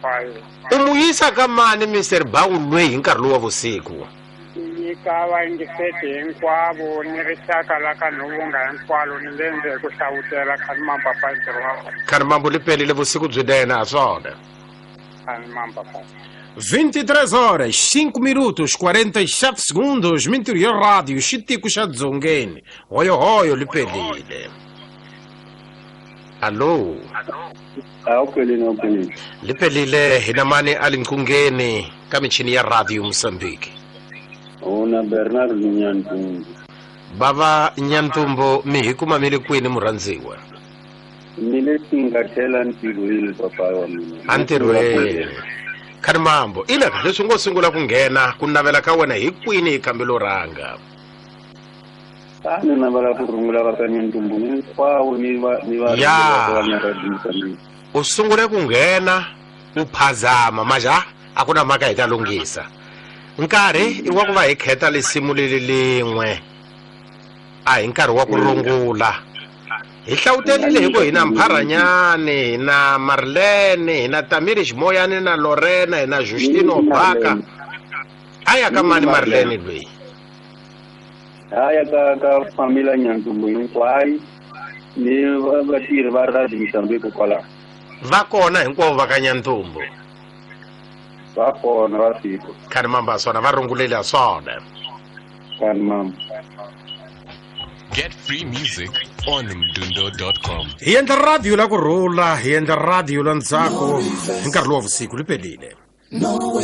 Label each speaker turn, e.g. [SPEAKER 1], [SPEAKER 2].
[SPEAKER 1] Papayi.
[SPEAKER 2] U mu yisa ka mani Mr Bawulwe hi nkarhi lowu wa vusiku?
[SPEAKER 1] Nyika vayingiseti hinkwavo ni rixaka la ka Nhuvunga hinkwalo ni le ndze ku hlavutela Khanimam Papayi ntirho wa wena.
[SPEAKER 2] Khanimambu li pelile vusiku byinene ha swona.
[SPEAKER 1] Khanimam Papayi.
[SPEAKER 2] 23 horas 5 minutos 47 segundos mintirho ya radio xitiko xa dzongeni hoyohoyo li pelile alo.
[SPEAKER 3] Awuphelile, awuphelile.
[SPEAKER 2] Li pelile hina mani a linqungeni ka michini ya radio Mozambique?
[SPEAKER 3] Una Bernard Nyantumbu.
[SPEAKER 2] Bava Nyantumbu, mi hi kuma mi le kwini murhandziwa?
[SPEAKER 3] Ni le tingathela ntirhweni, papa wa mina.
[SPEAKER 2] Entirhweni, Khanimambo. Ilaka leswi ngo sungula ku nghena, ku navela ka wena hi kwini hi kambelo rhanga?
[SPEAKER 3] A ni navela ku rungula va ka Nyantumbu hinkwavo ni va ni va
[SPEAKER 2] Ya.
[SPEAKER 3] va radio Mozambique.
[SPEAKER 2] U sungule ku nghena u phazama maja, a ku na mhaka, hi ta lunghisa. Nkarhi i wa ku va hi kheta lisimu leli lin'we, a hi nkarhi wa ku rungula. Hi hlawutelile hi ku hi na Mpharanyani, hi na Marlene, hi na Tamiri Ximoyani, na Lorena, hi na Justino Baka. A ya ka mani Marlene loyi?
[SPEAKER 3] Haya ka familia Nyantumbu hinkwayo ni vatirhi va radio Mozambique kwalaho.
[SPEAKER 2] Va kona hinkwavo va ka Nyantumbu?
[SPEAKER 3] Va kona, va fika.
[SPEAKER 2] Khanimamba swona, va runguleli ha swona.
[SPEAKER 3] Khanimamba.
[SPEAKER 4] Get free music on mdundo.com.
[SPEAKER 2] Hi endla radio la ku rhula, hi endla radio la ntsako hi nkarhi lowu wa vusiku. Li pelile.